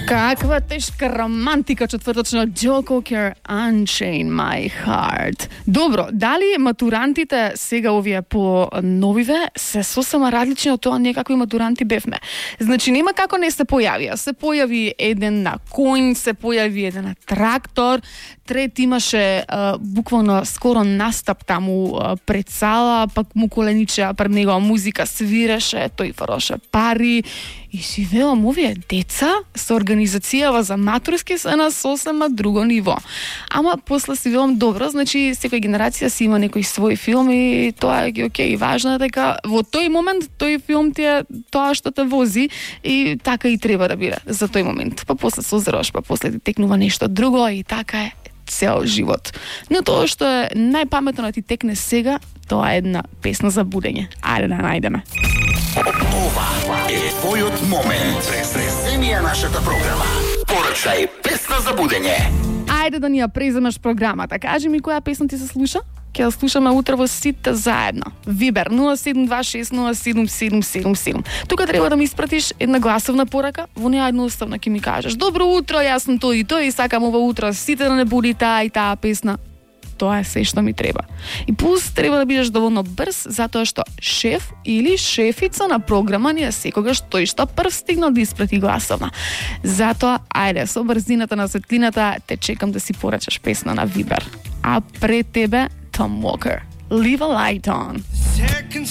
Каква тешка романтика четврточна Joe Cocker Unchain My Heart. Добро, дали матурантите сега овие по новиве се сосема различни од тоа некакви матуранти бевме? Значи нема како не се појавија. Се појави еден на конј, се појави еден на трактор, трет имаше буквално скоро настап таму пред сала, пак му коленичеа пред него музика свиреше, тој фароше пари. И си велам, овие деца со организацијава за матурски се на сосема друго ниво. Ама после си велам, добро, значи секоја генерација си има некој свој филм и тоа е окей, важно е дека во тој момент тој филм ти е тоа што те вози и така и треба да биде за тој момент. Па после созреваш, па после ти текнува нешто друго и така е цел живот. Но тоа што е најпаметно да ти текне сега, тоа е една песна за будење. Ајде да најдеме. Ова е твојот момент. Преземи ја нашата програма. Порачај песна за будење. Ајде да ни ја преземеш програмата. Кажи ми која песна ти се слуша? Ќе ја слушаме утре во сите заедно. Вибер 0726077777. Тука треба да ми испратиш една гласовна порака, во неја едноставно ќе ми кажеш: добро утро, јас сум тој и тој и сакам ова утро сите да не буди таа и таа песна. Тоа е се што ми треба. И плюс треба да бидеш доволно брз, затоа што шеф или шефица на програма ни е секогаш тој што прв стигнал да испрати гласовна. Затоа, ајде, со брзината на светлината те чекам да си порачаш песна на Вибер. А пред тебе Tom Walker, Leave a Light On.